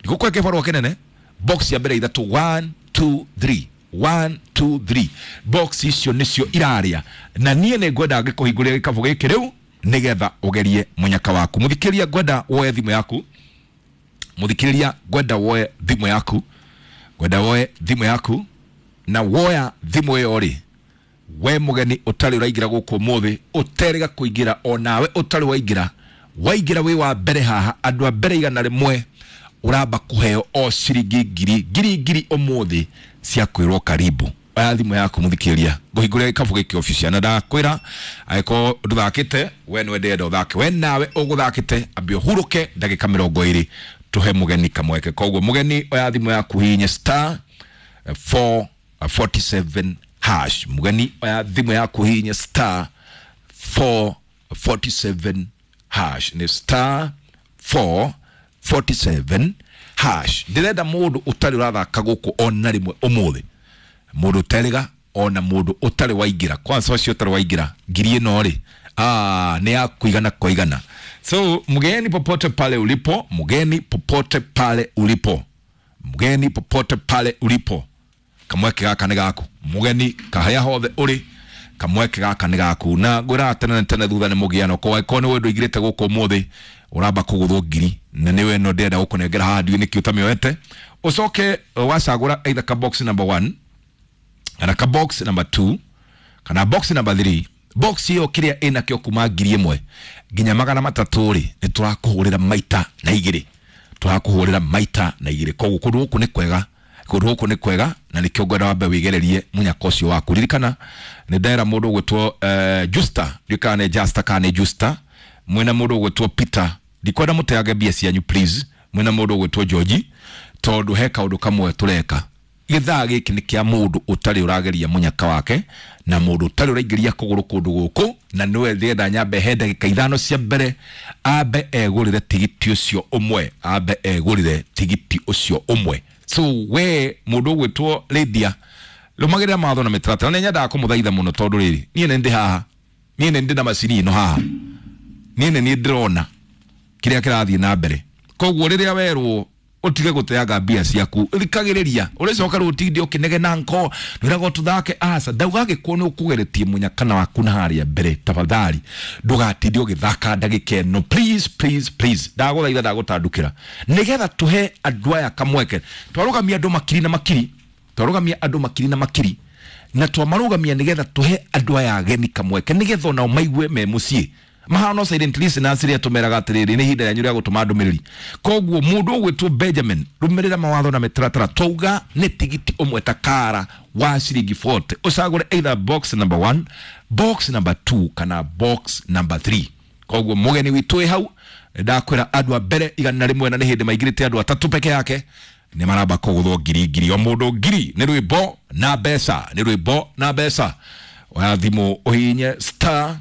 Ndigũkũhe kĩbarũa kĩnene. Box ya mbere ithatũ, 1 2 3, 1 2 3, box icio nĩcio irarĩa, na niĩ nĩ ngwenda ngĩkũhingũrĩra gĩkabũ gĩkĩ rĩu nĩgetha ũgerie mũnyaka waku. Mũthikĩria, ngwenda woe thimũ yaku. Mũthikĩrĩria, ngwenda woe thimũ yaku, ngwenda woe thimũ yaku. Na woya thimũ ĩyo rĩ, we mũgeni ũtarĩ ũraingĩra gũkũ ũmũthĩ, ũterĩga kũingĩra, onawe ũtarĩ waingĩra, waingĩra wĩ wa mbere haha, andũ a mbere 100 ũramba kũheo o ciringi ngiri ngiri ngiri ũmũthĩ cia kwĩrwo karibu. Oya thimũ yaku, mũthikĩrĩria, ngũhingũrĩra gĩkabũ gĩkĩ official, na ndakwĩra angĩkorwo ndũthakĩte, we nĩwe ndĩrenda ũthake. We nawe ũgũthakĩte, ambia ũhurũke ndagĩka 20 tũhe mũgeni kamweke. Koguo mũgeni, oya thimũ yaku, hihinye star 447 hash. Mũgeni, oya thimũ yaku, hihinye star 447 hash, nĩ star 447 hash. Ndĩrenda mũndũ ũtarĩ ũrathaka gũkũ ona rĩmwe ũmũthĩ, mũndũ ũterĩga, ona mũndũ ũtarĩ waingĩra. Kwanza ũcio ũtarĩ waingĩra, ngiri ĩno rĩ, ah, nĩ ya kuigana kwa igana. So mgeni popote pale ulipo, mgeni popote pale ulipo, mgeni popote pale ulipo, kamweke gaka nĩ gaku. Mũgeni kaharĩa hothe ũrĩ, kamweke gaka nĩ gaku. Na ngwĩraga tene na tene, thutha nĩ mũgiano. Ko angĩkorwo nĩ we ndũingĩrĩte gũkũ ũmũthĩ, ũramba kũgũthwo ngiri, na nĩwe ĩno ndĩrenda gũkũnengera haha, ndiũĩ nĩkĩ ũtamĩoete. Ũcoke wacagũra either ka box number 1 kana ka box number 2 kana box number 3. Box ĩyo kĩrĩa ĩnakĩo kuma 1000 nginya 300 rĩ, nĩ tũrakũhũrĩra maita na igĩrĩ, tũrakũhũrĩra maita na igĩrĩ. Koguo kũndũ gũkũ nĩ kwega, kũndũ gũkũ nĩ kwega, na nĩkĩo ngwenda wambe wĩgererie mũnyaka ũcio waku. Ririkana nĩ ndera mũndũ ũgwĩtwo Justa, ndiũĩ kana nĩ Justa kana nĩ Justa, mwĩna mũndũ ũgwĩtwo Peter, ndikwenda mũteange mbia cianyu, please. Mwĩna mũndũ ũgwĩtwo George, tondũ he kaũndũ kamwe tũreka gĩthaa gĩkĩ nĩ kĩa mũndũ ũtarĩ ũrageria mũnyaka wake na mũndũ ũtarĩ ũraingĩria kũgũrũ kũndũ gũkũ, na nĩwe ndĩrenda nyambe he ndagĩka 5 cia mbere ambe egũrĩre tigiti ũcio ũmwe, ambe egũrĩre tigiti ũcio ũmwe. So we mũndũ ũgwĩtwo Lydia, rũmagĩrĩra mawatho na mĩtaratara. Nĩ nyendaga kũmũthaitha mũno, tondũ rĩrĩ, niĩ nĩ ndĩ haha, niĩ nĩ ndĩ na macini ĩno haha, niĩ nĩ niĩ ndĩrona kĩrĩa kĩrathiĩ na mbere. Koguo rĩrĩa werwo ũtige gũteanga mbia ciaku, thikagĩrĩria. Ũrĩcoka rĩu ũtinde ũkĩnegena nko nwĩragwo tũthake. Aca, ndauga angĩkorwo nĩ ũkũgeretie mũnyakana waku na harĩa mbere, tafadhali ndũgatinde ũgĩthaka ndagĩka ĩno. Please, please, please, ndagũthaitha, ndagũtandũkĩra, nĩgetha tũhe andũ aya kamweke. Twarũgamia andũ makiri na makiri, twarũgamia andũ makiri na makiri, na twamarũgamia nĩgetha tũhe andũ aya ageni kamweke, nĩgetha onao maigue me mũciĩ, mahana silent listeners rĩa tũmeraga atĩrĩrĩ, nĩ ihinda rĩanyu rĩa gũtũma ndũmĩrĩri. Koguo mũndũ ũgwĩtwo Benjamin, rũmĩrĩra mawatho na mĩtaratara. Twauga nĩ tigiti ũmwe takara wa ciringi 40, ũcagũre either box number 1, box number 2 kana box number 3. Koguo mũgeni witũ wĩ hau, ndakwĩra andũ a mbere 100, na nĩ hĩndĩ maingĩrĩte andũ atatũ peke yake, nĩ maramba kũgũthwo ngiri ngiri, o mũndũ ngiri. Nĩ rwĩmbo na mbeca, nĩ rwĩmbo na mbeca. Oya thimũ, ũhihinye star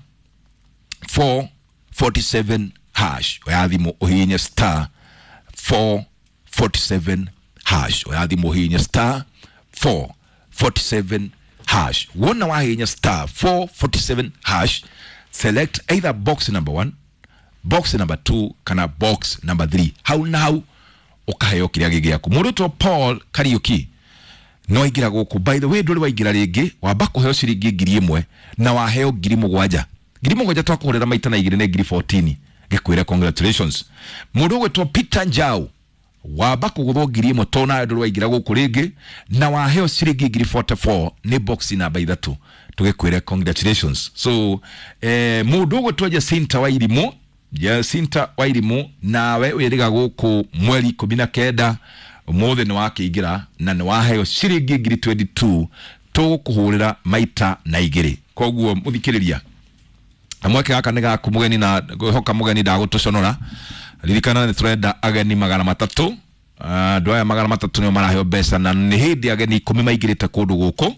447 hash. Oya thimũ, ũhihinye star 447 hash. Oya thimũ, ũhihinye star 447 hash. Wona wahihinya star 447 hash, select either box number 1, box number 2 kana box number 3. Hau na hau ũkaheo kĩrĩa gĩ gĩaku. Mũndũ ũtwo Paul Kariuki no aingĩra gũkũ. By the way, ndũrĩ waingĩra rĩngĩ, wamba kũheo ciringi 1000 na waheo 7000. 7000 twakũhũrĩra maita na igĩrĩ nĩ ngiri 14. Ngĩkwĩre congratulations. Mũndũ ũgwĩtwo Peter Njau, wamba kũgũthwo 1000, tondũ nawe ndũrĩ waingĩra gũkũ rĩngĩ, na waheo ciringi ngiri 44 nĩ box namba ithatũ, tũgĩkwĩre congratulations. So mũndũ ũgwĩtwo Jacinta Wairimu, Jacinta Wairimu, nawe wĩrĩga gũkũ mweri 19, ũmũthĩ nĩ wakĩingĩra na nĩ waheo ciringi ngiri 22, tũgũkũhũrĩra maita na igĩrĩ. Koguo mũthikĩrĩria, kamweke gaka nĩ gaku mũgeni, na ngwĩhoka mũgeni ndagũtũconora. Ririkana nĩ tũrenda ageni 300. Andũ aya 300 nĩo maraheo mbeca, na nĩ hĩndĩ ageni 10 maingĩrĩte kũndũ gũkũ.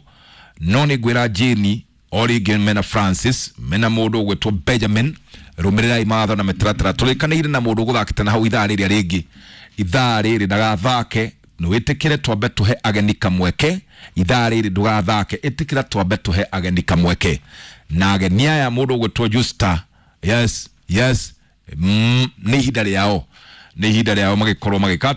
No nĩ ngwĩra Jane o rĩngĩ, mena Francis, mena mũndũ ũgwĩtwo Benjamin, rũmĩrĩrai mawatho na mĩtaratara tũrĩkanĩire. Na mũndũ ũgũthakĩte na hau ithaa rĩrĩa rĩngĩ, ithaa rĩrĩ ndagathake. Nĩwĩtĩkĩre twambe tũhe ageni kamweke. Ithaa rĩrĩ ndũgathake, ĩtĩkĩra twambe tũhe ageni kamweke. Na ageni aya, mũndũ ũgwĩtwo Justa, yes, yes, nĩ ihinda rĩao, nĩ ihinda rĩao magĩkorwo magĩka.